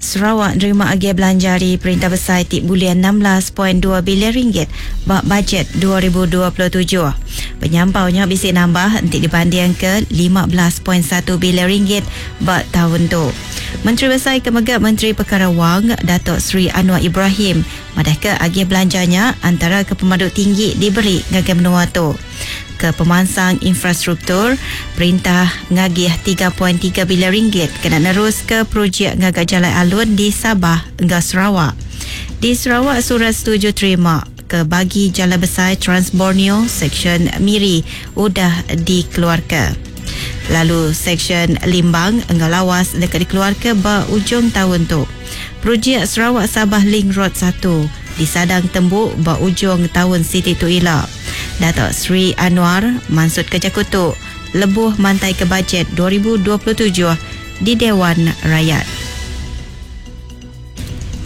Sarawak nerima agih belanja ari Perintah Besai ti bulih 16.2 bilion ringgit ba bajet 2027. Penyampau nya bisi nambah enti dibandingka 15.1 bilion ringgit ba taun tu. Menteri Besai ke mega Menteri Pekara Wang, Datuk Seri Anwar Ibrahim madahka agih belanja nya antara ke pemadu tinggi diberi ngagai menua tu. Ke pemansang infrastruktur, perintah ngagih 3.3 bilion ringgit kena neruska projek ngaga jalai alun di Sabah enggau Sarawak. Di Sarawak, surat setuju terima ke bagi Jalai Besai Trans Borneo Seksyen Miri udah dikeluarka. Lalu Seksyen Limbang enggau Lawas deka dikeluarka ba ujung taun tu. Projek Sarawak-Sabah Link Road satu disadang tembu ba ujung taun siti tu ila. Datuk Seri Anwar mansutka jaku tu lebuh mantaika Bajet 2027 di Dewan Rakyat.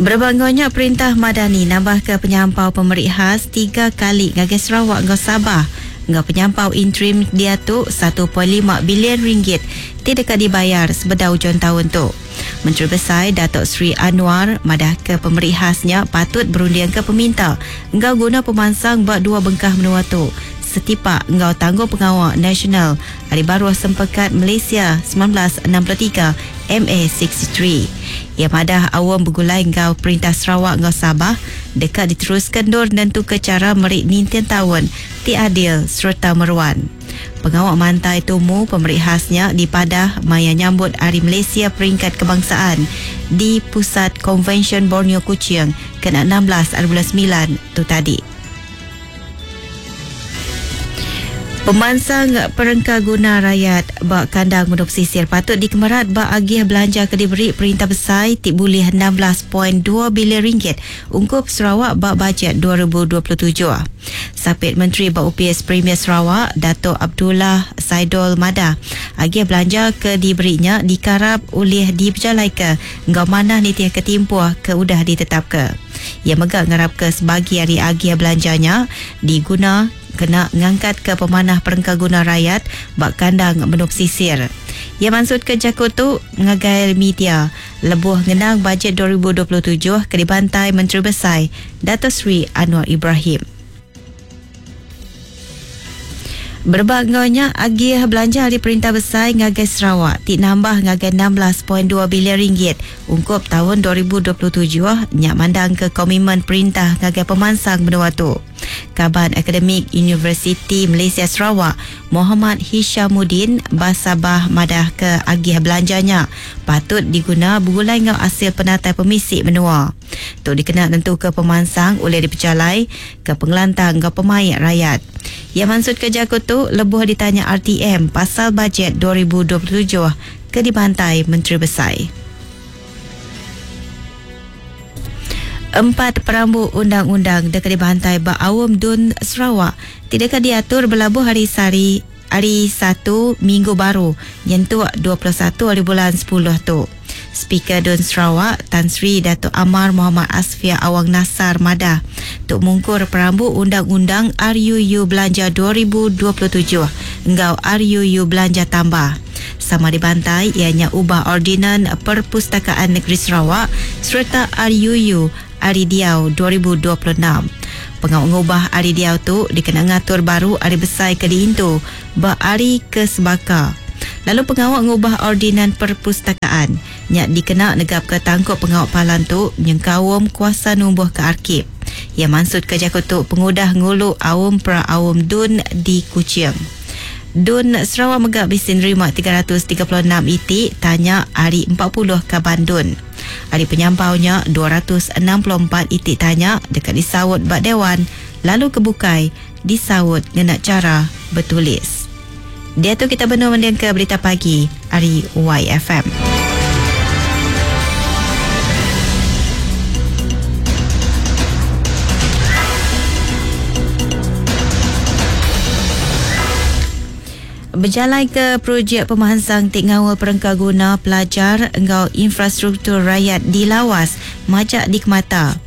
Berebak enggau nya, Perintah Madani nambahka penyampau pemeri khas tiga kali ngagai Sarawak enggau Sabah enggau penyampau interim diatu 1.5 bilion ringgit ti deka dibayar sebedau ujung taun tu. Menteri Besai Datuk Seri Anwar madahka pemeri khas nya patut berundingka peminta enggau guna pemansang ba dua bengkah menua tu setipak enggau tanggungpengawa nasional ari baruh Sempekat Malaysia 1963, MA63. Iya madah aum begulai enggau Perintah Sarawak enggau Sabah deka diteruska endur nentuka chara meri ninting taun ti adil sereta meruan. Pengawa mantai tumu pemeri khas nya dipadah maya nyambut Hari Malaysia Peringkat Kebangsaan di Pusat Konvensyen Borneo Kuching kena 16 ari bulan semilan tu tadi. Pemansang perengka guna rayat ba kandang menua pesisir patut dikemerat ba agih belanja ke diberi Perintah Besai ti bulih 16.2 bilion ringgit ungkup Sarawak ba Bajet 2027. Sapit Menteri ba Opis Premier Sarawak, Datuk Abdullah Saidol madah, agih belanja ke diberi nya dikarap ulih dipejalaika enggau manah nitihka timpuh ke udah ditetapka. Iya mega ngarapka sebagi ari agih belanja nya diguna kena ngangkatka pemanah perengka guna rayat ba kandang menua pesisir. Iya mansutka jaku tu ngagai media lebuh ngenang Bajet 2027 ke dibantai Menteri Besai Dato Seri Anwar Ibrahim. Berebak enggau nya, agih belanja ari Perintah Besai ngagai Sarawak ti nambah ngagai 16.2 bilion ringgit ungkup taun 2027 nya mandangka komitmen perintah ngagai pemansang menua tu. Kaban Akademik Universiti Malaysia Sarawak, Mohamad Hishamuddin Basabah madahka agih belanja nya patut diguna begulai enggau asil penatai pemisi menua. Tu dikena nentuka pemansang ulih dipejalai ke pengelantang enggau pemaik rayat. Iya mansutka jaku tu lebuh ditanya RTM pasal Bajet 2027 ke dibantai Menteri Besai. Empat perambu undang-undang deka dibantai ba Aum Dun Sarawak ti deka diatur belabuh hari sehari ari Satu minggu baru nyentuk 21 ari bulan sepuluh tu. Speaker Dun Sarawak, Tan Sri Datuk Amar Mohamad Asfia Awang Nassar madah, tu mungkur perambu Undang-Undang RUU Belanja 2027 enggau RUU Belanja Tambah. Sama dibantai iya nya ubah Ordinan Perpustakaan Negeri Sarawak sereta RUU Hari Diau 2026. Pengawa ngubah hari diau tu dikena ngatur baru hari besai ke diintu ba hari ke sebaka. Lalu pengawa ngubah Ordinan Perpustakaan nya dikena negapka tangkup pengawa palan tu nyengkaum kuasa numbuhka arkib. Iya mansutka jaku tu pengudah ngulu Aum Pra-Aum Dun di Kuching. Dun Sarawak mega bisi nerima 336 iti tanya ari 40 kaban Dun. Ari penyampau nya, 264 iti tanya deka disaut ba Dewan lalu ke bukai disaut ngena chara betulis. Diatu kita benung mendingka Berita Pagi ari YFM. Bejalaika projek pemansang ti ngaul perengka guna pelajar enggau infrastruktur rayat di Lawas majak dikemata.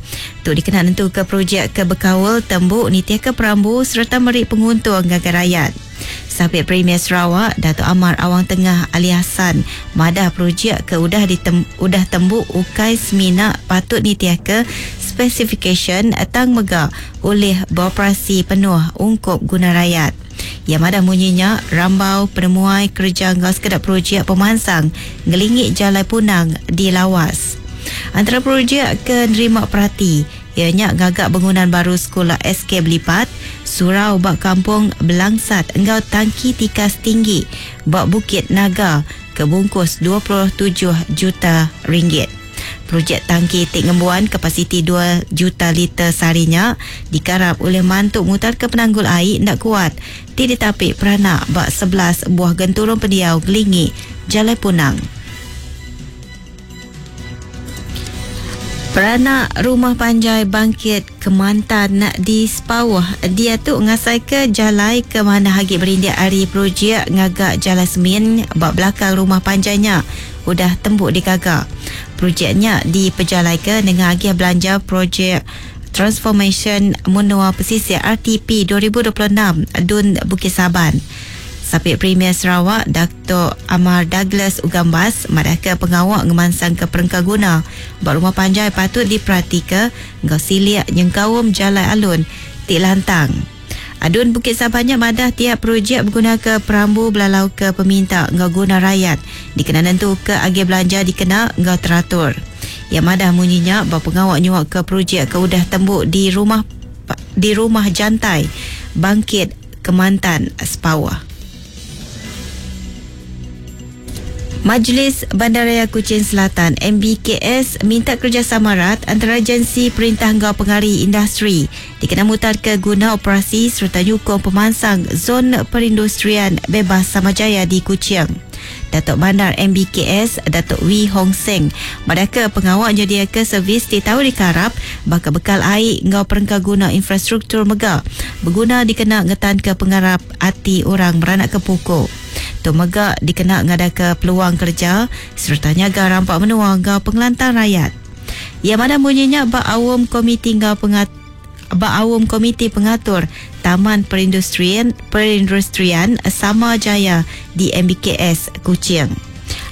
Tu dikena nentuka projek ke bekaul tembu nitihka perambu sereta meri penguntung ngagai rayat. Sapit Premier Sarawak, Datuk Amar Awang Tengah Ali Hasan madah projek ke udah ditem, udah tembu ukai semina patut nitih ke spesifikasyen tang mega ulih beroperasi penuh ungkup guna rayat. Iya madah munyinya rambau penemuai kereja enggau sekeda projek pemansang ngelingi Jalai Punang di Lawas. Antara projek ke nerima perati iya nya ngaga bangunan baru sekula SK Belipat, surau ba Kampung Belangsat enggau tangki tikas tinggi ba Bukit Naga ke bungkus 27 juta ringgit. Projek tangki ti ngembuan kapasiti 2 juta liter sehari nya dikarap ulih mantu mutarka penanggul ai enda kuat ti ditapi peranak ba 11 buah genturung pendiau ngelingi Jalai Punang. Peranak Rumah Panjai Bangkit Kemantan di Sepauh diatu ngasaika jalai ke manah agi berindik ari projek ngaga jalai semin ba belakang rumah panjai nya udah tembu digaga. Projek nya dipejalaika nengah agih belanja projek Transformasyen Menua Pesisir RTP 2026 Dun Bukit Saban. Sapit Premier Sarawak, Datuk Amar Douglas Uggah Embas madahka pengawa ngemansangka perengka guna ba rumah panjai patut diperatika enggau silik nyengkaum jalai alun ti lantang. Adun Bukit Saban nya madah tiap projek begunaka perambu belalauka peminta enggau guna rayat dikena nentuka agih belanja dikena enggau teratur. Iya madah munyi nya ba pengawa nyuaka projek ke udah tembu di rumah di Rumah Jantai, Bangkit Kemantan, Sepauh. Majlis Bandaraya Kuching Selatan, MBKS, minta kerjasama rat antara agensi perintah enggau pengari industri dikena mutarka guna operasi sereta nyukung pemansang Zon Perindustrian Bebas Samajaya di Kuching. Datuk Bandar MBKS, Datuk Wee Hong Seng, madahka pengawa nyediaka servis ti tau dikarap baka bekal ai enggau perengka guna infrastruktur mega beguna dikena ngetanka pengarap ati orang meranakka puku. Tu mega dikena ngadaka peluang kereja sereta nyaga rampa menua enggau pengelantang rayat. Iya madah munyi nya ba aum komiti enggau pengat ba aum Komiti Pengatur Taman Perindustrian Perindustrian Sama Jaya di MBKS, Kuching.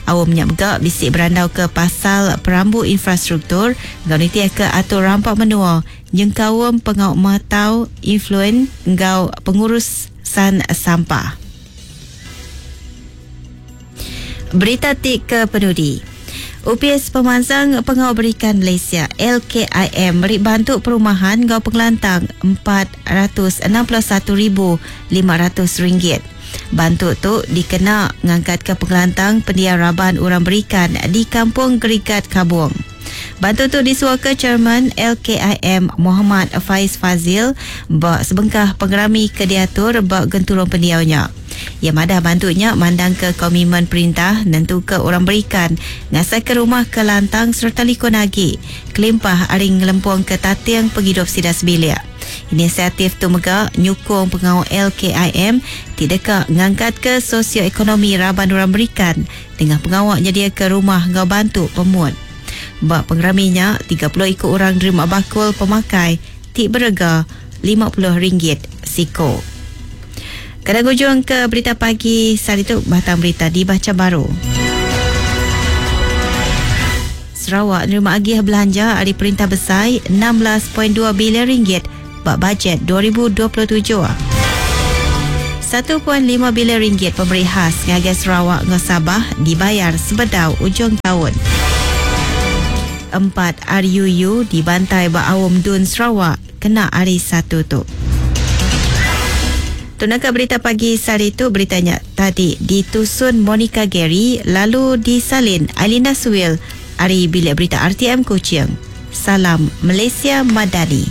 Aum nya mega bisi berandauka pasal perambu infrastruktur enggau nitihka atur rampa menua nyengkaum pengawa matau influen enggau pengurusan sampah. Berita ti ke penudi. Opis Pemansang Pengawa Berikan Malaysia, LKIM, meri bantu perumahan enggau pengelantang RM461,500. Bantu tu dikena ngangkatka pengelantang pendiau raban orang berikan di Kampung Gerigat Kabong. Bantu tu disuaka Chairman LKIM Mohamad Faiz Fazil ba sebengkah pengerami ke diatur ba genturung pendiau nya. Iya madah bantu nya mandangka komitmen perintah nentuka orang berikan ngasaika rumah ke lantang sereta likun agi kelimpah ari ngelempungka tating pengidup sida sebilik. Inisiatif tu mega nyukung pengawa LKIM ti deka ngangkatka sosioekonomi raban orang berikan nengah pengawa nyediaka rumah enggau bantu pemut. Ba pengerami nya, 30 iku orang nerima bakul pemakai ti berega RM50 siku. Kada ngujung ke berita pagi sehari tu, batang berita dibacha baru. Sarawak nerima agih belanja ari perintah besai 16.2 bilion ringgit ba bajet 2027. 1.5 bilion ringgit pemeri khas ngagai Sarawak enggau Sabah dibayar sebedau ujung taun. 4 RUU dibantai ba Aum Dun Sarawak kena hari Satu tu. Tu naka berita pagi sehari tu, berita nya tadi ditusun Monica Gary lalu disalin Ailinda Suwil ari Bilik Berita RTM Kuching. Salam Malaysia Madani.